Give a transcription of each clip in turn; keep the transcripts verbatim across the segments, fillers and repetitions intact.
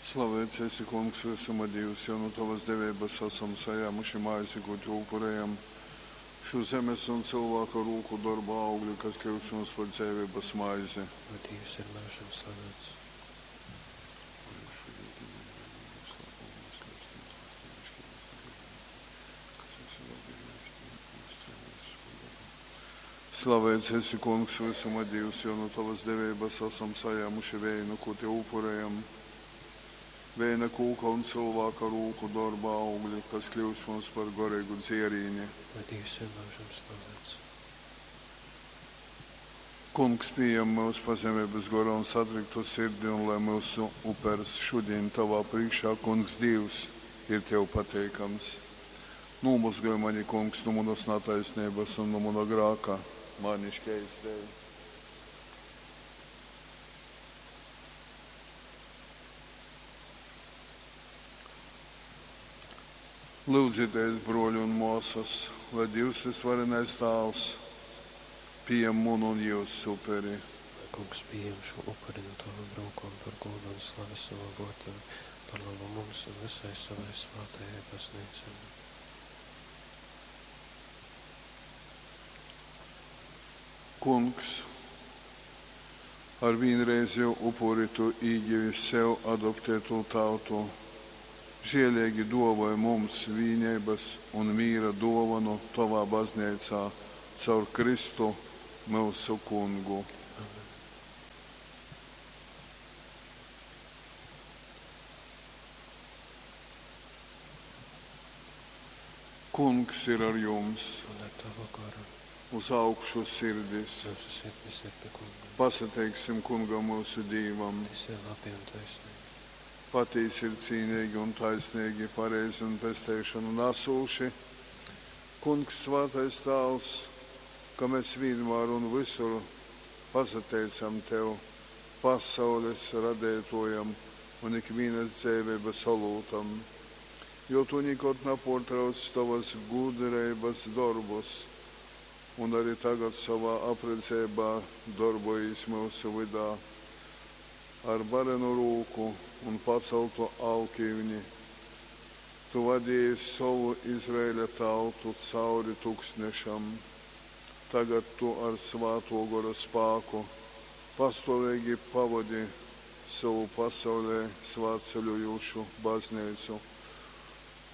Slavēts esi, Kungs, vysuma Dīvs, jo nu tovas deveibas asam sajāmuši maizi, kū tev upurējam. Šū zemes un cylvāka rūku dorba augli, kas kļyust mums par dzeiveibas maizi. Jo Dīvs ir myužam slavēts. Slavēts esi, Kungs, vysuma Dīvs, jo nu tovas deveibas asam sajāmuši veinu, kū tev upurējam. Veina kūka un cylvāka rūku dorba augli, kas kļyust mums par goreigu dzierīni. Jo Dīvs ir myužam slavēts. Kungs, pījem myus pazemeibas gorā un satriktu sirdi, un lai myusu upers šodien tavā priekšā, Kungs Dīvs, ir tev pateikams. Nūmozgoj mani, Kungs, nu manas nataisnības un nu mana grāka, mani škeistej. Lūdzieties, broļi un māsas, lai Dievs visvarenais Tāvs pieņem munu un jūsu uperi. Lai Kungs pieņem šo upuri no tavam rūkām par godu un slavi savam vārdam, par labu mums un visai savai svētajai baznīcai. Kungs, ar vienreizēju upuri tu īgivi sev adoptētu tautu. Žēlīgi dāvāj mums vienības un miera dāvanu tovā baznīcā caur Kristu mūsu kungu. Amen. Kungs ir ar jums, Un ar tavu garu uz augšu sirdis. mūsu sirdis ir pie Kunga. Pasateiksim kungam mūsu Dīvam. Tas ir labi un taisnīgi. Patiesi ir cīnīgi un taisnīgi, pareizi un pesteišanu nesūši. Kungs, svētais Tāvs, ka mēs vienmēr un visur pasateicam Tev, pasaules radētojam un ikvienas dzīvības olūtam, jo Tu nekad nepārtrauc Tavas gudrības darbus, un arī tagad savā apredzībā darbojies mūsu vidā ar barenu rūku un paceltu alkīvni. Tu vadīji savu Izraēļa tautu cauri tuksnešam. Tagad tu ar svēto gora spēku pastāvīgi pavadi savu pasaulē svētceļojošu baznīcu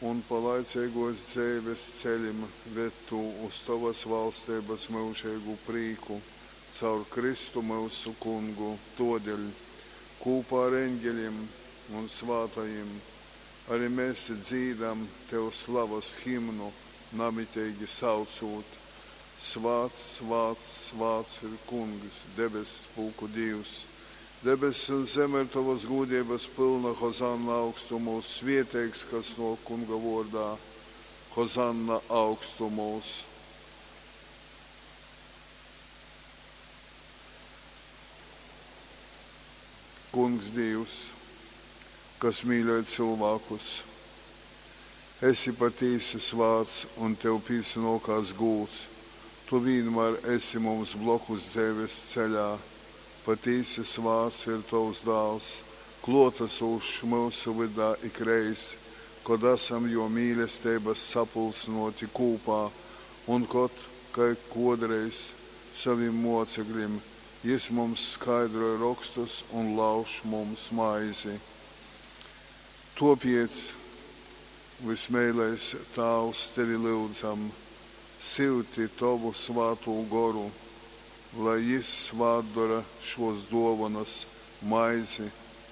un pa laicīgos dzīves ceļiem ved tu uz tavas valstības mūžīgu prīku caur Kristu mūsu kungu. Todēļ kopā ar eņģeļiem un svētajiem arī mēs dzīdam tev slavas himnu, namitīgi saucot: Svēts, svēts, svēts ir Kungs, debesu pulku Dievs. Debesis un zeme ir tavas gūdības pilna, Hozanna augstumos, svieteigs, kas no Kunga vārdā, Hozanna augstumos. Kungs Dievs, kas mīļoj cilvēkus, esi patīsi svāts un tev pīsinokās gūts. Tu vienmēr esi mums blokus dzīves ceļā. Patīsi svāts ir tavs dāls, klotasūšs mūsu vydā ikreiz, kad esam jo mīlestības sapulsinoti kūpā un kad, kai kodreiz saviem mocekļiem, jis mums skaidroja rakstus un lauž mums maizi. Topiec, vismīlais Tāvs, tevi lūdzam, silti tavu svātū goru, lai jis svātdara šos dovanas, maizi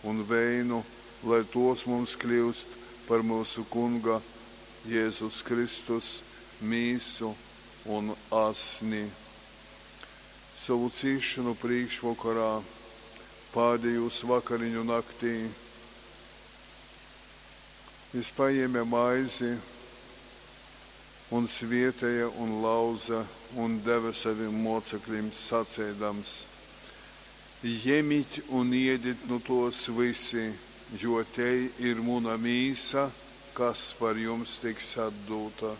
un veinu, lai tos mums kļūst par mūsu Kunga Jēzus Kristus mīsu un asni. Savu cīšanu priekšvakarā, pēdējos vakariņu naktī, jis paņēma maizi un svietēja un lauza un deva saviem mocekļiem sacēdams: Ņemiet un iediet nu tos visi, jo te ir muna mīsa, kas par jums tiks atdota.